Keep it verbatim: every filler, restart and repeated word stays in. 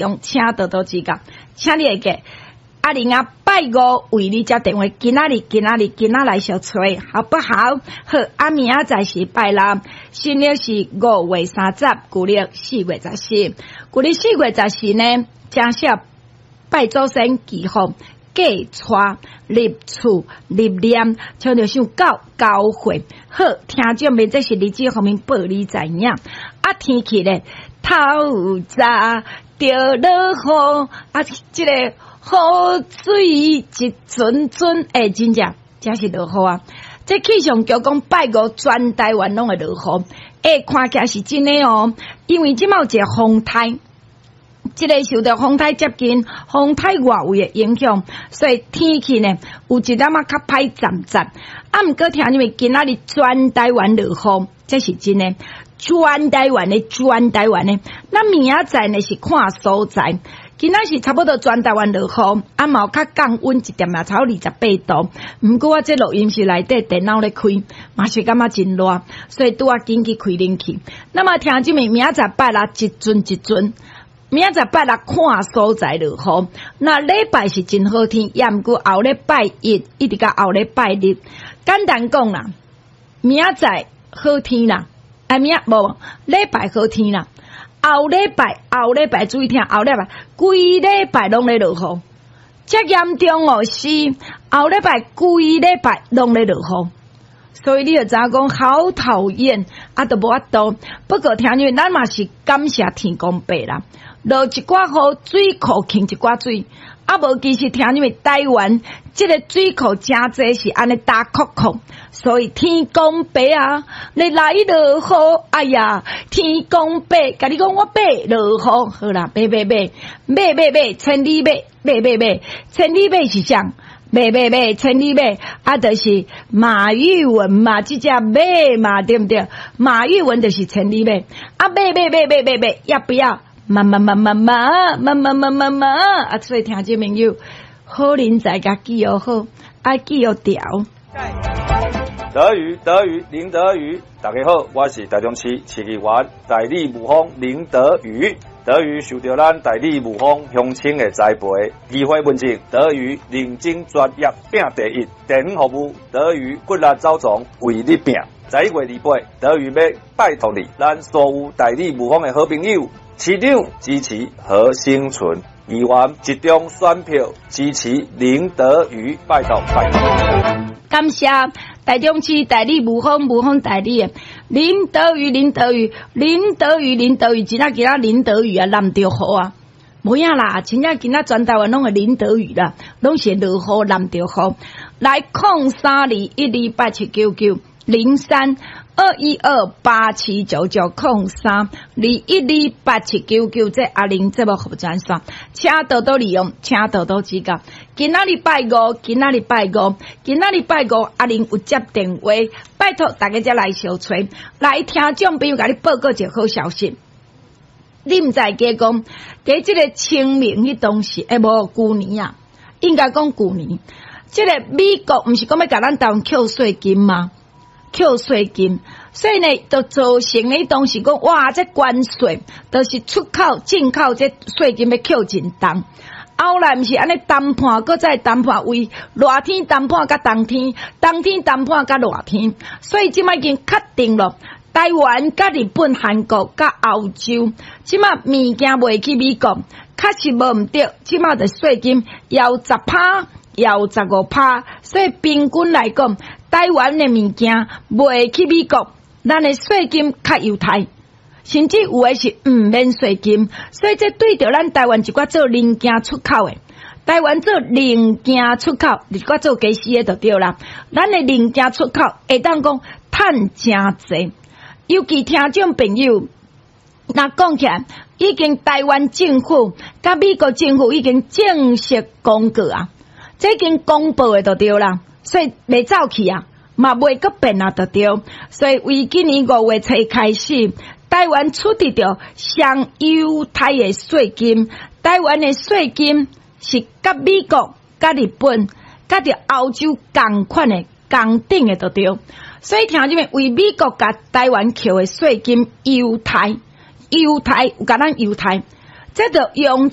用，請多多指教，請你會記。阿玲啊，拜五為你接電話，今仔日今仔日今仔來相揣，好不好？好，啊明仔載是拜六，新曆是五月三十，舊曆四月十四，舊曆四月十四呢，正式拜祖先祈福，過娶入厝入殮，像著像到交會。好，聽眾們，這是日子方面報你知影。啊，天氣咧，透早著落雨，啊，這個雨水一陣陣，欸，真正真是落雨啊！這氣象局講拜五全台灣攏會落雨，欸，看起來是真的哦，因為這擺有一個風颱。這個受著風颱接近，風颱外圍的影響，所以天氣呢有一點仔較歹暫暫。啊，毋過聽你們今仔日全台灣落雨，這是真的。全台灣的，全台灣的，那明仔載呢是看所在。今仔是差不多全台灣落雨，啊嘛有較降溫一點仔，差不多二十八度。毋過我這錄音室內底電腦咧開，嘛是感覺真熱，所以拄仔緊去開冷氣。那麼聽這明仔載拜六一陣一陣。明仔載拜六看所在落雨，那禮拜是真好天，也毋過後禮拜一一直到後禮拜日，簡單講啦，明仔載好天啦，啊明無禮拜好天啦，後禮拜後禮拜注意聽，後禮拜規禮拜攏咧落雨，遮嚴重哦，是後禮拜規禮拜攏咧落雨。所以你就知影講好討厭，啊，都無法度。不過聽你咱嘛是感謝天公伯啦，落一寡雨，水庫囥一寡水，啊無其實聽你們台灣這個水庫誠濟是按呢焦涸涸，所以天公伯啊，你來落雨，哎呀，天公伯，共你講我欲落雨，好啦，欲欲欲，欲欲欲，千里馬，欲欲欲，千里馬是啥？馬馬馬，千里馬，啊，就是馬玉文嘛，這隻馬嘛，對毋對？馬玉文就是千里馬，啊，馬馬馬馬馬馬，要不要？馬馬馬馬馬馬馬馬馬馬，啊，所以聽眾朋友，好人才共記號好，愛記號調。德瑜，德瑜，林德瑜，大家好，我是台中市市議員代理霧峰林德瑜。德瑜受著咱代理霧峰鄉親的栽培，議會問政，德瑜認真專業拼第一，地方服務，德瑜骨力走總為你拼。十一月二八，德瑜欲拜託你，咱所有代理霧峰的好朋友，市長支持何生存，議員集中選票支持林德瑜，拜託拜託。感謝台中市代理霧峰霧峰代理的林德瑜林德瑜林德瑜林德瑜，真正今仔林德瑜啊，淋著雨啊，無影啦，真正今仔全台灣攏會淋著雨啦，攏是落雨淋著雨。來空三二一二八七九九零三二一二八七九九空三二一二八七九九，這阿玲節目服務專線，請多多利用，請多多指教。今仔日拜五，今仔日拜五，今仔日拜五，阿玲有接電話，拜託大家才來相揣，來聽眾朋友共你報告一個好消息。你毋知記講，佇這個清明彼當時，欸無舊年啊，應該講舊年，這個美國毋是講欲共咱台灣扣稅金嗎？扣稅金，所以呢，就造成呢當時講，哇，這關稅，就是出口、進口這稅金欲扣真重。後來毋是按呢談判，閣再談判，為熱天談判佮冬天，冬天談判佮熱天，所以這擺已經確定了，台灣佮日本、韓國佮歐洲，這擺物件賣去美國，確實無毋對，這擺的稅金猶十趴，猶十五趴，所以平均來講，台灣的物件賣去美國，咱的稅金較優待，甚至有的是毋免稅金，所以這對著咱台灣一寡做零件出口的，台灣做零件出口，一寡做家私的就對啦。咱的零件出口會當講趁誠濟，尤其聽眾朋友，若講起來，已經台灣政府佮美國政府已經正式公告啊，這已經公布的就對啦，所以袂走去啊，嘛袂閣變啊，就對。所以為今年五月初開始，台灣取得著上優待的稅金，台灣的稅金是佮美國、佮日本、佮著歐洲仝款的、仝等的，就對。所以聽這邊為美國共台灣扣的稅金優待，優待有共咱優待，這就用。